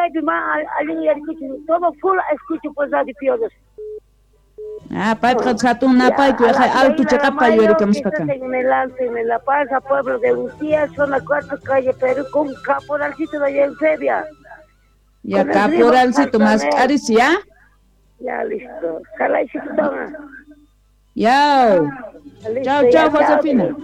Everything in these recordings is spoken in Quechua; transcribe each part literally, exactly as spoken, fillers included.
Chaypi ma allin uyarikuchu, todo full escucho por Radio Pioneros. Ah, payqa hatun napaykuy alto chiqapqa yuyarikamuspaqa. En el Alto, en La Paz, pueblo de Uncía, zona cuatro, calle Perú, con caporalcito de Eusebia. Ya, caporalcito más caris, ¿ya? Ya, listo. Jalaicito toma. Ya. Chao, chao, Josefina.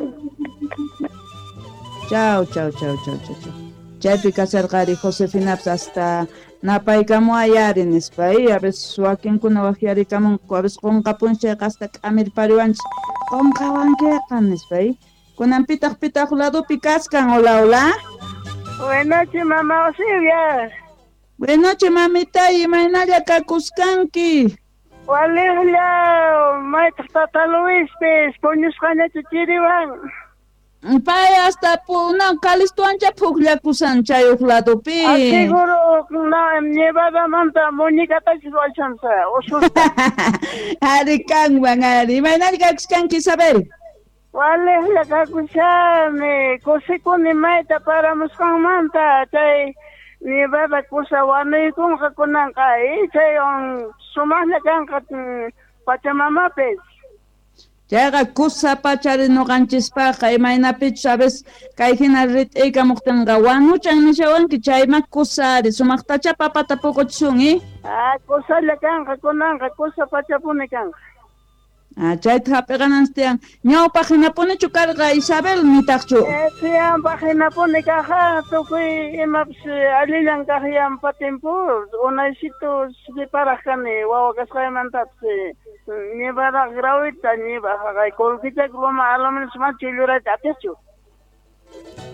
Chao, chao, chao, chao, chao, chao. Chaypi kasarqari Josefinapas hasta napaykamuayari nispa, a veces wakinkuna waqyarikamunku, a veces qunqapunchik chayqa hasta k'amirpariwanchik qunqawankiqa nispa, kunan pitaq pitaq ladopi kaskan. Hola, hola. Buenas noches, mamá Silvia. Buenas noches, mamita, imaynalla kakuskanki. Waliqlla, maytaq tata Luispis, puñusqañachu chiriwan. Pay hasta no, Calisto ancha pukllakusan chay huk ladopi. Ah, seguro, no, nevadamanta muñecatachis wachansa, ususta. Ari kanwan, ari. Imaynalla kakuskanki, Isabel? Waliqlla kakushani, kusikuni mayta paramusqanmanta, chay nevada kusa wanuykunqa kunanqa, chaywan sumaqlla kanqa pachamamapis. Chayqa kusa pachari ñuqanchispaqqa imaynapichus a veces kay hina rit'iykamuqtinqa wanuchan nishawanki chayma kusa ari sumaqtacha papata puquchisun, eh? Ah, kusalla kanqa kunanqa kusa pachapuni kanqa. Ah, chayta hap'iqananchis tiyan. Ñawpaq hinapunichu karqa Isabel nitaqchu? Eh, tiyanpaq hinapuni kaqqa tukuy imapas allillan kaq yampa timpu unaysitu siparaq kani wawa kasqaymantapis nevada grawita ñibaq qullqichak loma aluminas mana chullurayta atiqchu.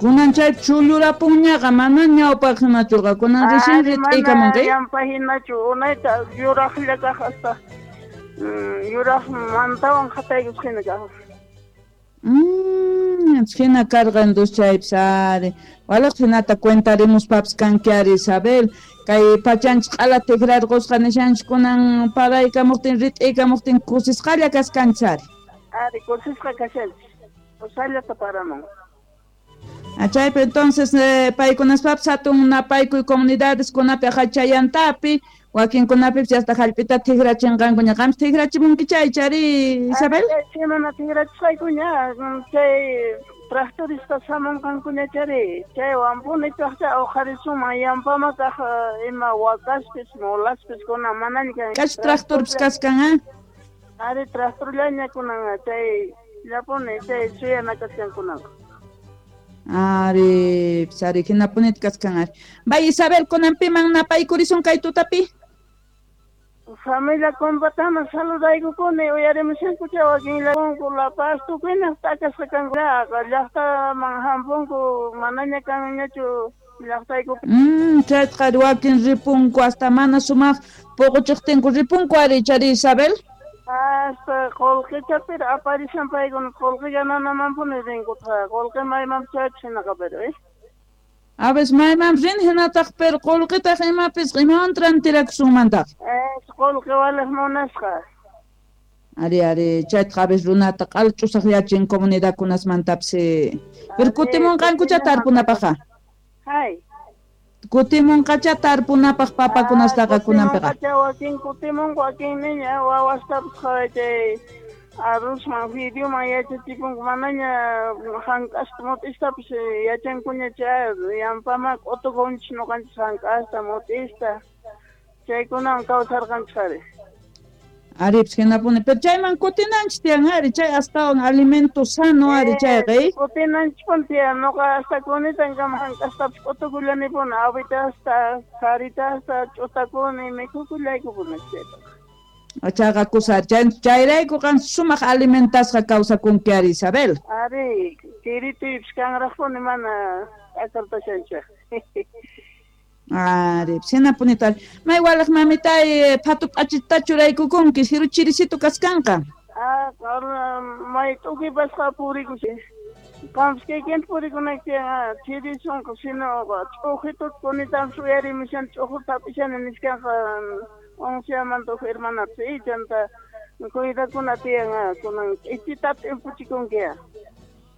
Kunan chay chullurapunñaqa mana ñawpaq hinachuqa kunan recién rit'iykamunki. Yampa hinachu unayta yuraqlla kaq hasta yuraq mantawan qataykus hina kaq. Mmm, hina karqa entonces chaypis ari. Waliq hinata cuentarimuspapas kanki ari Isabel. Kay pachanchik q'ala tikrarqusqa nishanchik kunan paraykamuqtin rit'iykamuqtin kusisqalla kaskanchis ari. Ari kusisqa kashanchik. Kusallata paramun. Ah, chaypi entonces eh, paykunaspapas hatun napaykuy comunidades kunapi hachayantapi wakinkunapipis hasta hallp'ita tikrachinqankuña qampis tikrachimunki chay chari Isabel? Chay mana tikrachisqaykuña chay tractorista hamunqankuña chari chaywanpuni chaqcha uqarisunman yampama kaq ima wakaspis mulaspis kunan manaña kan. Kach tractorpis kaskan, ah? Ari tractorllaña kunan chay llapuni chay suyana kaskan kunanqa. Ari, ari hinapunita kaskan ari. Bay Isabel kunan piman napaykurisun kay tutapi? Familia compatama saludaykukuni uyarimushanku chay wakinllakunku La Paz tukuyna t'akasqa kanku llaqtaman hampunku manaña kanñachu llaqtaykupi. Mm, chaytaqa wakin ripunku hasta mana sumaq puquchiqtinku ripunku ari chari Isabel? Hasta qullqichapira aparishan paykuna qullqi gananamanpuni rinkutqa qullqi maymanpis chaypis hinaqa pero eh. A veces maymanpis rin hinataq pero qullqitaq imapis imawan trantirakusunmantaq. Eh, qullqi waliq munasqa. Ari ari chaytaqa a veces runata q'ala ch'usaqyachin comunidadkunasmantapis. Pero kutimunqankucha tarpunapaqqa. Hay. Kutimunqacha tarpunapaq papakunastaqa kunanpiqa. Kutimunqacha wakin kutimunku wakin niña wawastapas chay arrozman fideoman yachachikunku manaña hank'asta mut'istapis yachankuña chay yampama q'utukunchis ñuqanchis hank'asta mut'ista chaykunawan kawsarqanchis ari. Aripis hinapuni pero chayman kutinanchis tiyan ari chay astawan alimento sano ari chayqa eh? Kutinanchispuni tiyan ñuqa hasta kunitankama hank'astapis q'utukullanipuni awitasta saritasta ch'utakuni mikhukullaykupuni chaytaqa. Chayqa kusa chayrayku qan sumaq alimentasqa kawsakunki ari Isabel. Ari chirituypis kanraqpuni mana t'akartashanchik. Ari, hinapunita ari. May waliq mamitay phatu p'achita churaykukunki siru chirisitu kaskanqa. Ah, may tukipasqa purikushi. Qampis kaykinta purikunayki chirisunqa sino ch'uqituta kunitanpis uyarimushan ch'uquta hap'ishani nishkanqa unciamanta huk hermanapis chanta cuidakuna tiyan kunan k'ichita t'impuchikunki.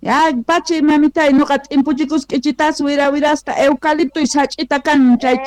Ya, pachi mamitay nuqa t'impuchikus k'ichitas wira wirasta eucalipto sach'ita kan chay